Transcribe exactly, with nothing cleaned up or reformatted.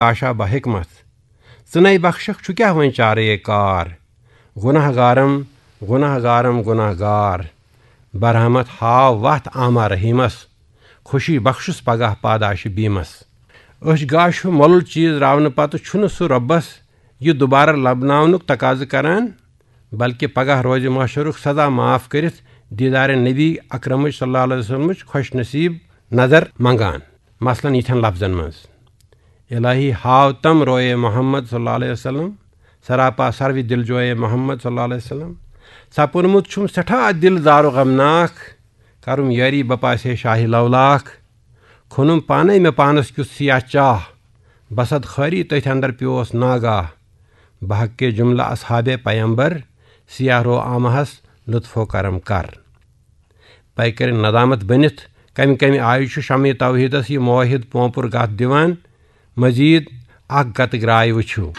آشا بحکمت۔ ژٕ نے بخشکھ، چھُ کیٛاہ وۄنۍ چارے کار؟ گناہ گارم، گناہ گارم، گناہ گار۔ برحمت ہاو وتھ آما رحیمس، خوشی بخشس پگاہ پاداش بیمس۔ أچھ گاش ہیو مۄلُل چیز راونہٕ پتہٕ چھُنہٕ سُہ رۄبس یہِ دوبارٕ لبناونُک تقاضہٕ کران، بلکہ پگاہ روزِ محشرُک سزا معاف کٔرِتھ دیدار نبی اکرمٕچ صلی اللہ علیہ وسلمٕچ خوش نصیب نظر منگان۔ مثلاً یِتھٮ۪ن لفظن منٛز، الہی ہاو تم روئے محمد صلی اللہ علیہ وسلم، سراپا سروِ دل جوئے محمد صلی اللہ علیہ وسلم۔ سپُرمُت چھُم سٮ۪ٹھاہ دل زار و غمناک، کرُم یٲری بپاسے شاہی لولاک۔ کھوٚنُم پانے مےٚ پانس کیُتھ سیاہ چاہ، بسد خٲری تٔتھۍ اندر پیوس ناگاہ۔ بحق جملہ اصحاب پیمبر، سیاہ رو آمہس لطف و کرم کر۔ پیکرِ ندامت بٔنِتھ کمہِ کمہِ آیہِ چھُ شمع توحیدس یہِ موحد پونپُر گتھ دِوان؟ مزید اکھ گتہٕ گراے وٕچھِو۔